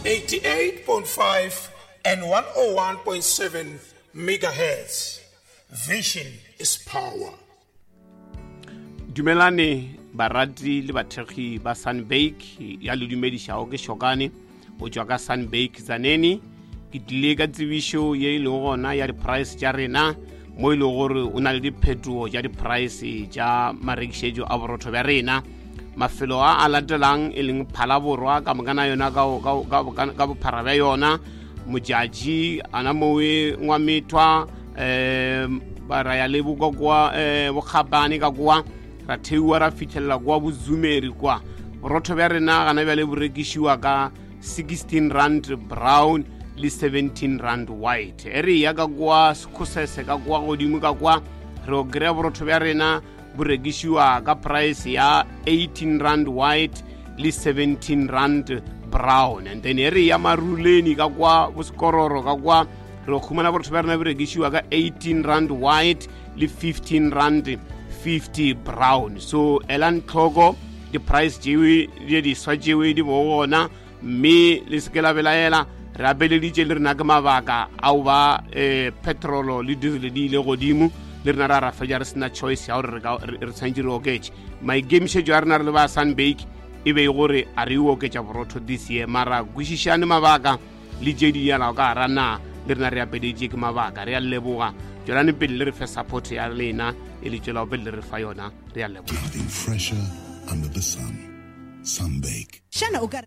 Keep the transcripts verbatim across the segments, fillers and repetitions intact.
eighty-eight point five and one oh one point seven megahertz. Vision is power. Dumelane barati le bathekgi ba Sunbake ya le dumedišago ke Shokane o tšwa ka Sunbake Tzaneen. Ke tlile ka tsebišo ye e lego gona ya di-price tša rena mo e lego gore o na le diphetogo tša di-price tša marekišetšo a borotho bja rena. Mafelo a a latelang e leng Phalaborwa ka mokana yona ka bophara bja yona, Modjadji ana mowe Ngwamethwa, um ra ya le boka kwa um Bokgapane ka kwa, ra theiwa ra fitlhelela kwa Bozumeri kwa. Borotho bja rena gana bjale bo rekišiwa ka sixteen rand brown le seventeen rand white. E re ya ka kwa Sekhosese ka kwa godimo ka kwa re o kry-a borotho bja rena bo rekišiwa ka price ya eighteen rand white le seventeen rand brown. And then e re ya Maruleni ka kwa Bosekororo ka kwa re khumana borotho bja rena bo rekišiwa ka eighteen rand white le fifteen rand fifty brown. So elang tlhoko di-price tšewe di diswa tšewe di bo gona, mme le se ke la belaela. Re apeleditše le rena ke mabaka ao ba um petrolo le diesel di ile godimo, le rena ra ra fetša re sena choice ya gore re tshwanetse re oketše. Maikemišetšo a rena re le ba Sunbake e be gore a re oketša borotho this year, mara kwešišane mabaka le tše di yalago ka gara na le rena re apeleditše ke mabaka. Re a leboga, tšwelane pele le re fe support ya lena e le tšwelago pele le re fa yona. Re a leboga. Nothing fresher under the sun. Sunbake. Xana u ka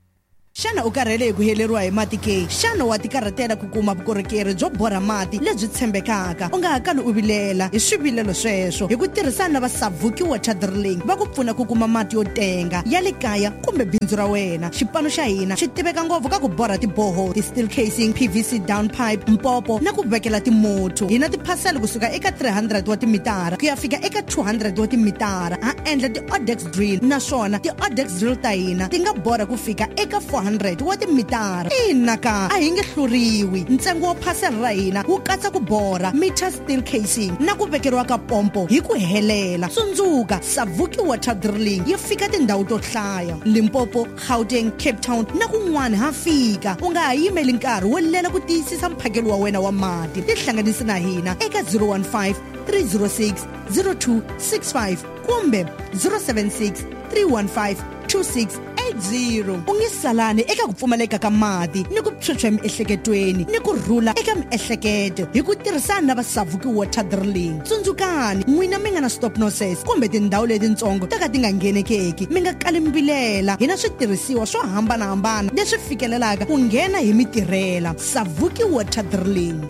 Xana u karhele hi ku heleriwa hi mati ke? Xana wa tikarhatela ku kuma vukorhokeri byo borha mati lebyi tshembekaka? U nga ha kali u vilela hi swivilelo sweswo hi ku tirhisana na va Savuki Water Drilling va ku pfuna ku kuma mati yo tenga ya le kaya kumbe bindzu ra wena. Xipano xa hina xi tiveka ngopfu ka ku borha tiboho, ti-steel casing, P V C down pipe, mpopo na ku vekela timotho. Hi na tiphasela kusuka eka three hundred wa timitara ku ya fika eka two hundred wa timitara. Ha endla ti-odex drill naswona ti-odex drill ta hina ti nga borha ku fika eka four hundred wa timitara. Ina ka a hi nge hluriwi. Ntsengo wa phasela ra hina wu katsa ku borha meter steel casing na ku vekeriwa ka pompo hi ku helela. Tsundzuka, Savuki Water Drilling yi fika tindhawu to hlaya: Limpopo, Gauteng, Cape Town na kun'wana ha fika. U nga ha yimeli nkarhi wo lela ku tiyisisa mphakelo wa wena wa mati. Tihlanganisi na hina eka zero one five, three zero six, zero two six five kumbe zero seven six, three one five, two six eight zero. U nge salani eka ku pfumaleka ka mati ni ku phyuphya emiehleketweni ni ku rhula eka miehleketo hi ku tirhisana na va Savuki Water Drilling. Tsundzukani, n'wina mi nga na stop nonsense kumbe tindhawu letitsongo ta ka ti nga nghenekeki, mi nga kali mbilela. Hi na switirhisiwa swo hambanahambana leswi fikelelaka ku nghena hi mitirhela. Savuki Water Drilling.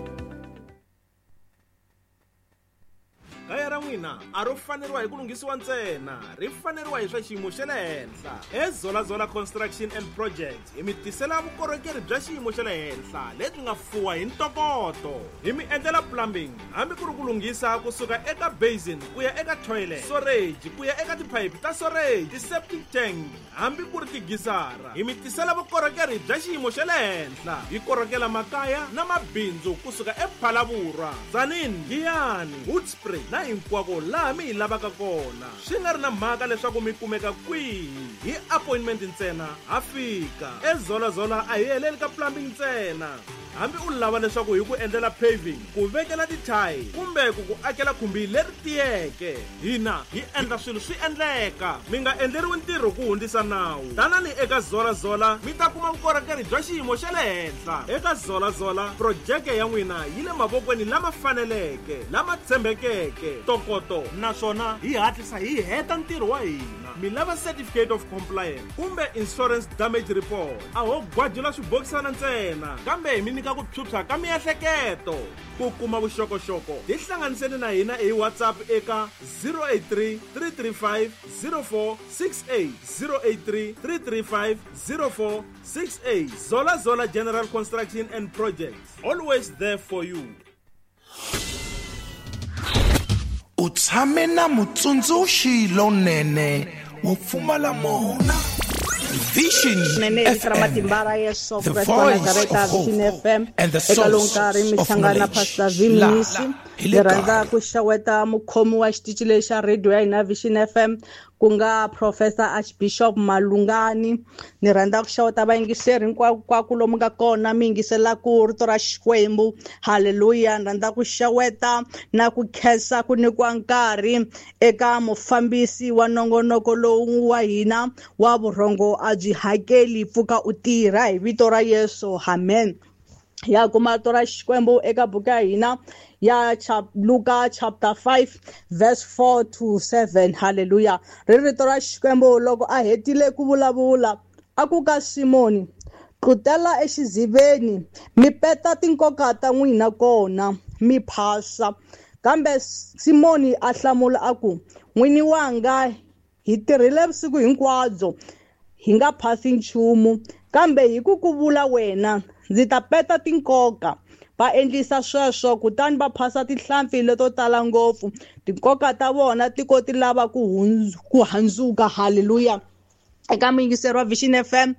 Kaya ra n'wina a ro faneriwa hi ku lunghisiwa ntsena, ri faneriwa hi swa xiyimo xa le henhla. Ezolazola Construction and Projects hi mi tisela vukorhokeri bya xiyimo xa le henhla lebyi nga fuwa hi ntokoto. Hi mi endlela plumbing hambi ku ri ku lunghisa kusuka eka basin ku ya eka toilet, storage ku ya eka tiphayiphi ta storage, ti-septic tank hambi ku ri tigisara. Hi mi tisela vukorhokeri bya xiyimo xa le henhla. Hi korhokela makaya na mabindzu kusuka ePhalaborwa, Tzaneen, Giyani, Hoedspruit na hinkwako laha mi hi lavaka kona. Swi nga ri na mhaka leswaku mi kumeka kwihi, hi appointment ntsena ha fika. Ezolazola a hi heleli ka plumbing ntsena. Hambi u lava leswaku hi ku endlela paving, ku vekela tithayi kumbe ku ku akela khumbi leri tiyeke, hina hi endla swilo swi endleka. Mi nga endleriwi ntirho ku hundzisa nawu. Tanani eka Zolazola mi ta kuma vukorhokeri bya xiyimo xa le henhla. Eka Zolazola projeke ya n'wina yi le mavokweni lama faneleke, lama tshembekeke, ntokoto, naswona hi hatlisa hi heta ntirho wa hina. Mi lava certificate of compliance kumbe insurance damage report, a ho gwajula swibokisana ntsena, kambe hi mi nyika ku phyuphya ka miehleketo. Ku kuma vuxokoxoko tihlanganiseni na hina hi WhatsApp eka zero eight three, three three five, zero four six eight, zero eight three, three three five, zero four six eight. Zola Zola General Construction and Projects, always there for you. U tshame na mutsundzuxi lonene wo pfumala mona. Vision F M, the voice of hope and the source of knowledge. La, Ni rhandza ku xeweta mukhomi wa xitichi lexi xa radio ya hina Vision F M, ku nga Professor Archbishop Malungani. Ni rhandza ku xeweta vayingiseri hinkwako lomu nga kona mi yingiselaka rito ra Xikwembu. Haleluya. Ni rhandza ku xeweta na ku khensa ku nyikiwa nkarhi eka mufambisi wa nongonoko lowu wa hina wa vurhongo a byi hakeli, pfuka u tirha hi vito ra Yesu. Amen. Ya kuma rito ra Xikwembu eka buku ya hina ya Luka chapter five verse four to seven. Haleluya. Ri rito ra Xikwembu loko a hetile ku vulavula a ku ka Simoni, tlutela exiziveni mi peta tinkoka ta n'wina kona mi phasa. Kambe Simoni a hlamula a ku, n'wini wanga, hi tirhile vusiku hinkwabyo hi nga phasi nchumu, kambe hi ku ku vula wena ndzi ta peta tinkoka. Va endlisa sweswo, kutani va phasa tihlampfi leto tala ngopfu, tinkoka ta vona ti ko ti lava ku ku handzuka. Haleluya. Eka muyingiseri wa Vision F M,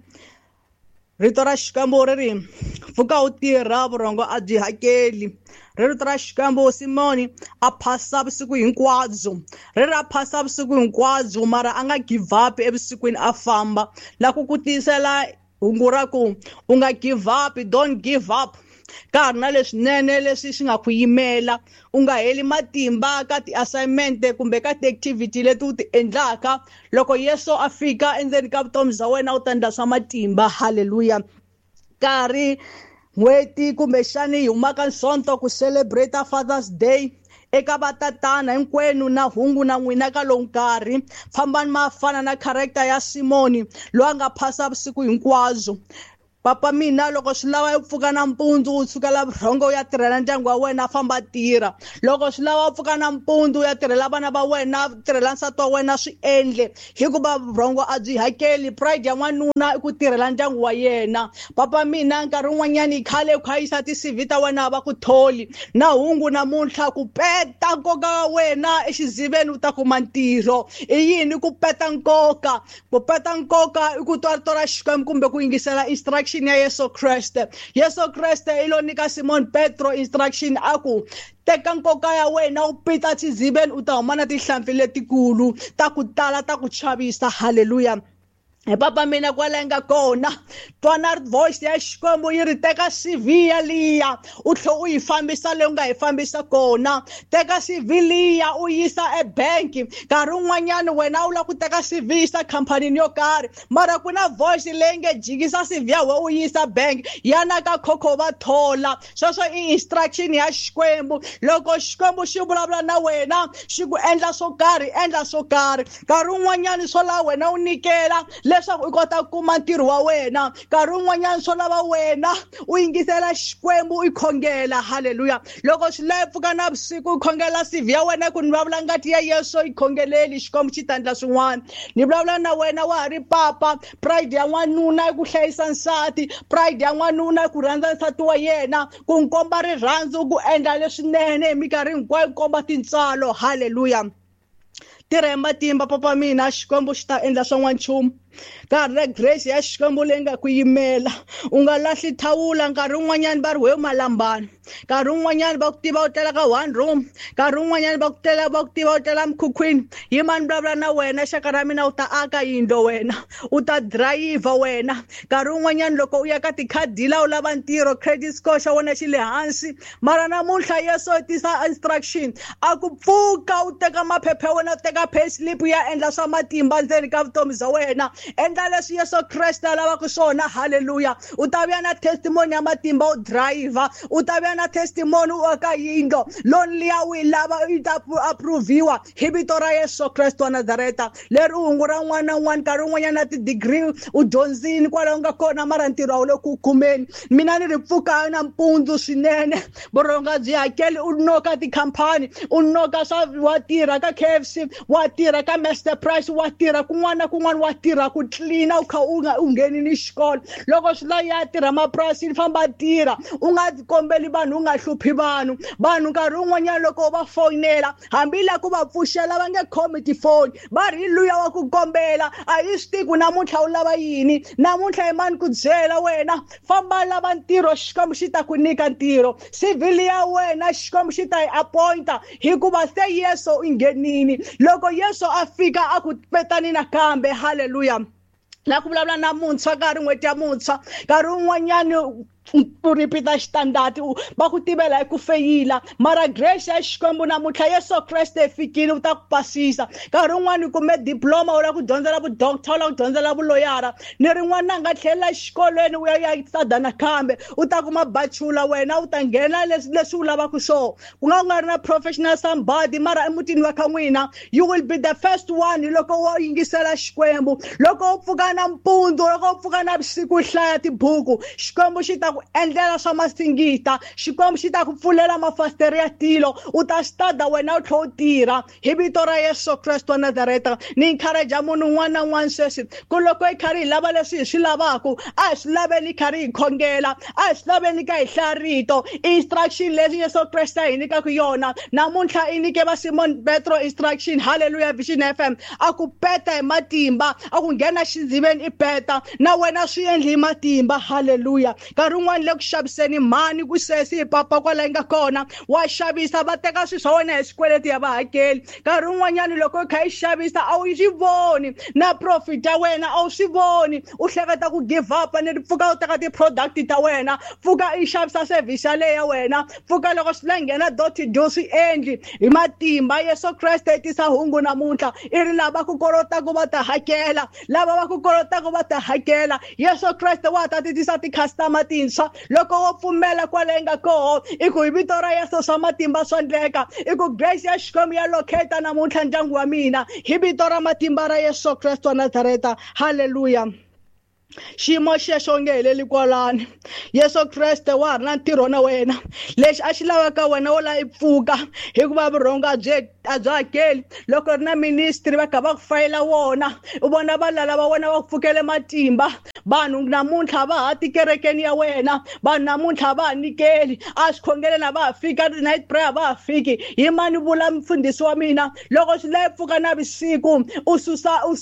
rito ra Xikwembu ri ri, pfuka u tirha, vurhongo a byi hakeli. Ri rito ra Xikwembu, Simoni a phasa vusiku hinkwabyo. Ri ri a phasa vusiku hinkwabyo, mara a nga give up evusikwini, a famba. La ku ku tiyisela hungu ra ku u nga give up, don't give up. Ka ha ri na leswinene leswi swi nga ku yimela, u nga heli matimba ka ti-assignment kumbe ka ti-activity leti u ti endlaka. Loko Yesu a fika endzeni ka vutomi bya wena u ta endla swa matimba. Haleluya. Nkarhi n'hweti kumbexani hi humaka Sonto ku celebrate Father's Day, eka vatatana hinkwenu na hungu na n'wina ka lowu nkarhi, fambani ma fana na character ya Simoni loyi a nga phasa vusiku hinkwabyo. Papa mina, loko swi lava u pfuka nampundzu u sukela vurhongo u ya tirhela ndyangu wa wena, famba tirha. Loko swi lava u pfuka nampundzu u ya tirhela vana va wena, tirhela nsati wa wena, swi endle, hikuva vurhongo a byi hakeli. Pride ya n'wanuna i ku tirhela ndyangu wa yena. Papa mina, nkarhi wun'wanyani khale u kha yisa ti-C V ta wena va ku tholi. Na hungu namuntlha, ku peta nkoka wa wena exiziveni u ta kuma ntirho. I yini ku peta nkoka? Ku peta nkoka i ku twa rito ra Xikwembu kumbe ku yingisela instruction ya Yesu Kreste. Yesu Kreste i lo nyika Simon Petro instruction a ku, teka nkoka ya wena u pita xiziveni u ta huma na tihlampfi letikulu ta ku tala ta ku chavisa. Haleluya. Hi papa mina kwala nga kona, twana voice ya Xikwembu yi ri, teka C V ya liya u tlhe u yi fambisa leyi u nga yi fambisa kona. Teka C V liya u yisa ebanki. Nkarhi wun'wanyani wena u lava ku teka C V yisa khampanini yo karhi, mara ku na voice leyi nge jikisa C V ya wena u yisa bank, yana ka khokho va thola. Sweswo i instruction ya Xikwembu. Loko Xikwembu xi vulavula na wena xi ku endla swo karhi, endla swo karhi. Nkarhi wun'wanyani swo lava wena u nyikela leswaku u kota ku kuma ntirho wa wena. Nkarhi wun'wanyana swo lava wena u yingisela Xikwembu u khongela. Haleluya. Loko swi lava pfuka navusiku u khongela C V ya wena, ku ni vulavula ngati ya Yesu yi khongeleli, Xikwembu xi ta endla swin'wana. Ni vulavula na wena wa ha ri papa, pride ya n'wanuna i ku hlayisa nsati, pride ya n'wanuna i ku rhandza nsati wa yena, ku n'wi komba rirhandzu, ku endla leswinene hi minkarhi hinkwayo, ku komba tintswalo. Haleluya. Tirha hi matimba papa mina, Xikwembu xi ta endla swa n'wanchumu. Nkarhi na grace ya Xikwembu leyi nga ku yimela, u nga lahli thawula. Nkarhi wun'wanyani va ri we malambani, nkarhi wun'wanyani va ku tiva u tlela ka one room, nkarhi wun'wanyani va ku tlela va ku tiva u tlela mukhukhwini. Yimani vulavula na wena xaka ra mina, u ta aka yindlo wena, u ta drayiva wena. Nkarhi wun'wanyani loko u ya ka tikhadila u lava ntirho, credit score xa wena xi le hansi, mara namuntlha Yesu u tisa instruction a ku pfuka u teka maphepha ya wena, u teka pay slip ya endla swa matimba ndzeni ka vutomi bya wena. Endla leswi Yesu Kreste a lavaka swona. Haleluya. U ta vuya na testimony ya matimba u driver, u ta vuya na testimony u aka yindlo, loan liya u yi lava yi ta approviwa hi vito ra Yesu Kreste wa Nazareta. Leri u hungu ra n'wana na un'wana, nkarhi wun'wanyana na ti-degree u dyondzini kwalaho nga kona, mara ntirho a wu le ku kumeni. Mina ni ri pfuka nampundzu swinene, vurhonga byi hakeli, u noka tikhampani, u noka swa wa tirha ka K F C, wa tirha ka Master Price, wa tirha kun'wana na kun'wana, wa tirha tiva ku tlilina u kha u nga u ngheni ni xikolo. Loko swi la ya tirha mapurasini famba tirha, u nga kombeli vanhu, u nga hluphi vanhu. Vanhu nkarhi wun'wanyana loko va fonela hambi la ku va pfuxela va nge khomi tifoni, va ri luya wa ku kombela a hi swi tivi ku namuntlha u lava yini, namuntlha i mani ku byela wena famba lava ntirho, Xikwembu xi ta ku nyika ntirho. Civil ya wena Xikwembu xi ta yi appointa hikuva se Yesu u nghenini. Loko Yesu a fika a ku petani nakambe. Haleluya. La ku vulavula na muntshwa nkarhi n'hweti ya muntshwa, nkarhi wun'wanyani u repeat xitandati va ku tivela hi ku feyila, mara grace ya Xikwembu namuntlha Yesu Kreste fikile u ta ku pasisa. Nkarhi wun'wani u kume diploma u lava ku dyondzela vudoctor, u lava ku dyondzela vuloyara, ni rin'wana a nga tlhelela exikolweni u ya ya stada nakambe u ta kuma bachelor, wena u ta nghena leswi leswi u lavaka swona. Ku nga ku nga ri na professional somebody, mara emutini wa ka n'wina you will be the first one loko wo yingisela Xikwembu. Loko u pfuka nampundzu, loko u pfuka navusiku u hlaya tibuku, Xikwembu xi ta ku endlela swa masingita, Xikwembu xi ta ku pfulela mafasitere ya tilo, u ta stada wena u tlhela u tirha hi vito ra Yesu Kreste wa Nazareta. Ni encourage munhu un'wana na un'wana sweswi ku loko hi karhi hi lava leswi hi swi lavaka, a hi swi laveni karhi hi khongela, a hi swi laveni ka hi hlaya rito. Instruction leswi Yesu Kreste a hi nyikaka yona namuntlha, i nyike va Simon Petro instruction. Haleluya. Vision F M a ku peta hi matimba, a ku nghena xidziveni i peta, na wena swi endli hi matimba. Haleluya. Nkarhi wun'wana le ku xaviseni mhani ku sesi hi papa kwala yi nga kona wa xavisa, va teka swilo swa wena hi swikweleti ya va hakeli. Nkarhi wun'wanyana loko u kha i xavisa a wu swi voni na profit ya wena, a wu swi voni, u hleketa ku give up ni pfuka u teka ti-product ta wena, pfuka i xavisa service yaleyo ya wena, pfuka loko swi la nghena dot do swi endli hi matimba. Yesu Kreste i tisa hungu namuntlha, i ri lava ku kolotaka va ta hakela, lava va ku kolotaka va ta hakela. Yesu Kreste wa ta ti tisa ti-customer tintshwa loko wo pfumela kwale yi nga koho. I ku hi vito ra Yesu swa matimba swa endleka, i ku grace ya Xikwembu ya locate namuntlha ndyangu wa mina hi vito ra matimba ra Yesu Kreste wa Nazareta. Haleluya. Xiyimo xexo nge heleli kwalani. Yesu Kreste wa ha ri na ntirho na wena, lexi a xi lavaka wena wo la i pfuka, hikuva vurhongo a byi a byi hakeli. Loko ri na ministry va kha va ku fayela wona, u vona valala va wena va ku pfukele matimba. Vanhu namuntlha va ha tikerekeni ya wena, vanhu namuntlha va ha nyikeli, a swi a va ha fika night prayer va ha fiki. Yimani vula mfundhisi wa mina, loko swi la pfuka navusiku u susa u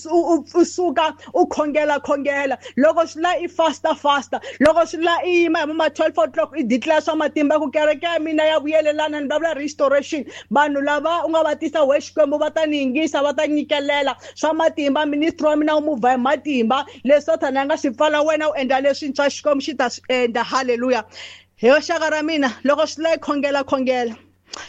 suka u khongela khongela, loko swi la i fasta fasta, loko swi la i yima hi ma twelve o'clock i declare swa matimba ku kereke ya mina ya vuyelelana, ni vulavula restoration. Vanhu lava u nga va tisa we Xikwembu va ta ni yingisa, va ta nyikelela swa matimba. Ministry wa mina wu muvha hi matimba, leswi Sathana a nga swi pfala wena u endla leswintshwa, Xikwembu xi ta swi endla. Haleluya. Hi xaka ra mina, loko swi la i khongela khongela,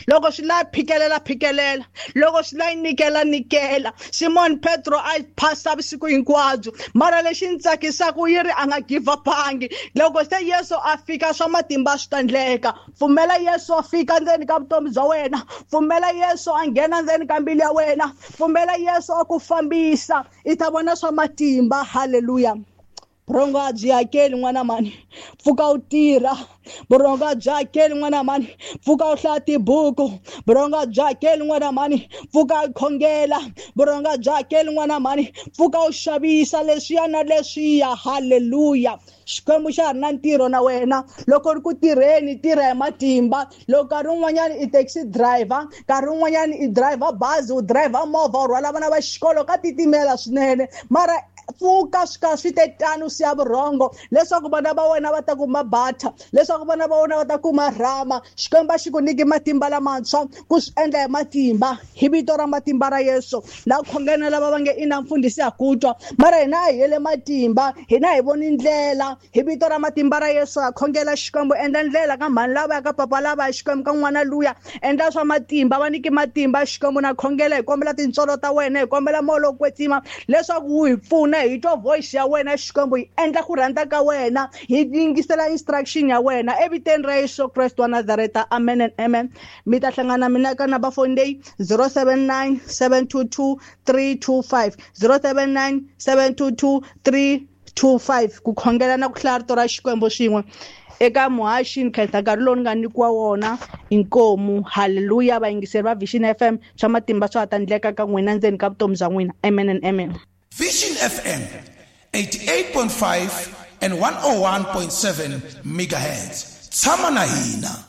loko swi la phikelela phikelela, loko swi la nyikela nyikela. Simon Petro a phasa vusiku hinkwabyo, mara lexi ni tsakisaka yi ri a nga give upangi. Loko se Yesu a fika swa matimba swi ta endleka. Pfumela Yesu a fika ndzeni ka vutomi bya wena, pfumela Yesu a nghena ndzeni ka mbilu ya wena, pfumela Yesu a ku fambisa, i ta vona swa matimba. Haleluya. Vurhongo a byi hakeli n'wana mani, pfuka u tirha. Vurhongo a byi hakeli n'wana mani, pfuka u hlaya tibuku. Vurhongo a byi hakeli n'wana mani, pfuka u khongela. Vurhongo a byi hakeli n'wana mani, pfuka u xavisa leswiya na leswiya. Haleluya. Xikwembu xa ha ri na ntirho na wena. Loko ri ku tirheni, tirha hi matimba. Loko nkarhi wun'wanyana i taxi driver, nkarhi wun'wanyana i driver bazi, u driver movha, u rhwala vana va xikolo, ka titimela swinene, mara pfuka swi ka swi te tano siya vurhongo leswaku vana va wena va ta kuma butter, leswaku vana va wena va ta kuma rhama. Xikwembu xi ku nyiki matimba lamantshwa ku swi endla hi matimba hi vito ra matimba ra Yesu. La khongela lava va nge ina mfundhisi ha ku twa, mara hina a hi hele matimba, hina hi voni ndlela. Hi vito ra matimba ra Yesu ha khongela Xikwembu, endla ndlela ka mhani lava ya ka papa lava ya Xikwembu ka n'wana luya, endla swa matimba, va nyiki matimba Xikwembu. Na khongela hi kombela tintswalo ta wena, hi kombela moya lowo kwetsima leswaku wu hi pfuna, hi twa voice ya wena Xikwembu, hi endla ku rhandza ka wena, hi yingisela instruction ya wena eviteni ra Yesu Kreste wa Nazareta. Amen and amen. Mi ta hlangana mina ka number phone leyi zero seven nine seven two two three two five, zero seven nine seven two two three two five, ku khongela na ku hlaya rito ra Xikwembu swin'we eka muhaxi. Ni khensa nkarhi lowu ni nga nyikiwa wona. Inkomu. Haleluya. Vayingiseri va Vision F M, swa matimba swa ha ta endleka ka n'wina ndzeni ka vutomi bya n'wina. Amen and amen. Vision F M eighty-eight point five and one oh one point seven megahertz. Tshama na hina.